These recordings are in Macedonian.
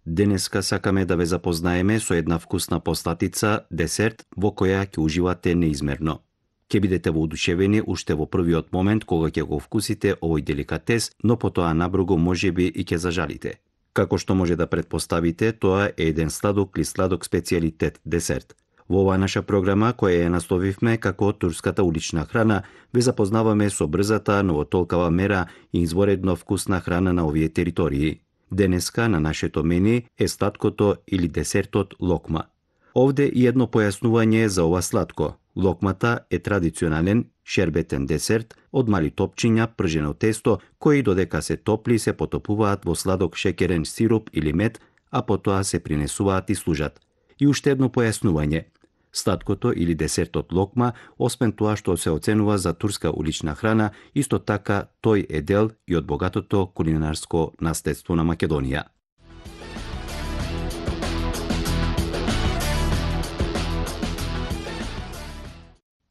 Денеска сакаме да ве запознаеме со една вкусна постатица, десерт, во која ќе уживате неизмерно. Ќе бидете воодушевени уште во првиот момент кога ќе го вкусите овој деликатес, но потоа набргу можеби и ќе зажалите. Како што може да претпоставите, тоа е еден сладок или сладок специјалитет десерт. Во оваа наша програма, која ја насловивме како турската улична храна, ве запознаваме со брзата, но во толкава мера и изворедно вкусна храна на овие територии. Денеска на нашето мени е сладкото или десертот локма. Овде и едно појаснување за ова сладко. Локмата е традиционален шербетен десерт од мали топчиња пржено тесто, кои додека се топли се потопуваат во сладок шеќерен сируп или мед, а потоа се принесуваат и служат. И уште едно појаснување. Сладкото или десертот локма, освен тоа што се оценува за турска улична храна, исто така тој е дел и од богатото кулинарско наследство на Македонија.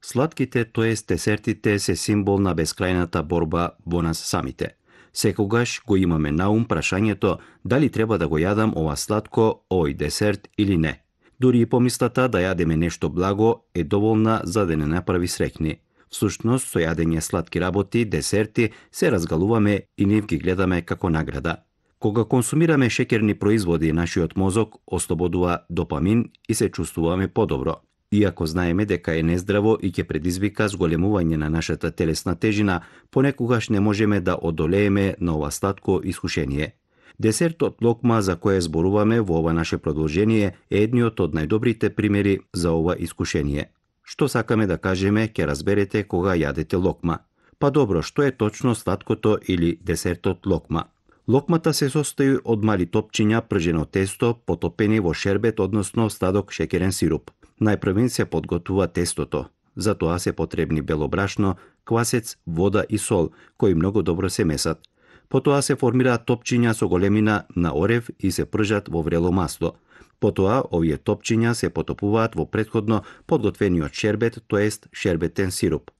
Сладките, тоест десертите, се символ на бескрајната борба во нас самите. Секогаш го имаме на ум прашањето дали треба да го јадам ова сладко, овој десерт или не. Дури и помислата да јадеме нешто благо е доволна за да не направи среќни. Всушност, со јадење сладки работи, десерти, се разгалуваме и нив ги гледаме како награда. Кога консумираме шеќерни производи, нашиот мозок ослободува допамин и се чувствуваме подобро. Иако знаеме дека е нездраво и ќе предизвика зголемување на нашата телесна тежина, понекогаш не можеме да одолееме на ова сладко искушение. Десертот локма за кој зборуваме во ова наше продолжение е едниот од најдобрите примери за ова искушение. Што сакаме да кажеме, ќе разберете кога јадете локма. Па добро, што е точно сладкото или десертот локма? Локмата се состои од мали топчиња пржено тесто потопени во шербет, односно сладок шеќерен сируп. Најпрвен се подготвува тестото. За тоа се потребни бело брашно, квасец, вода и сол, кои многу добро се месат. Потоа се формираат топчиња со големина на орев и се пржат во врело масло. Потоа овие топчиња се потопуваат во претходно подготвениот шербет, тоест шербетен сируп.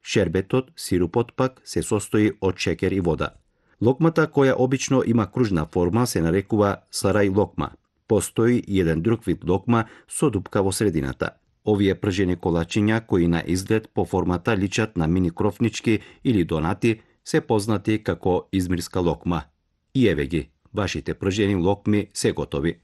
Шербетот, сирупот пак, се состои од шеќер и вода. Локмата, која обично има кружна форма, се нарекува сарај локма. Постои и еден друг вид локма со дупка во средината. Овие пржени колачиња, кои на изглед по формата личат на мини крофнички или донати, се познати како измирска локма. И еве ги, вашите пржени локми се готови.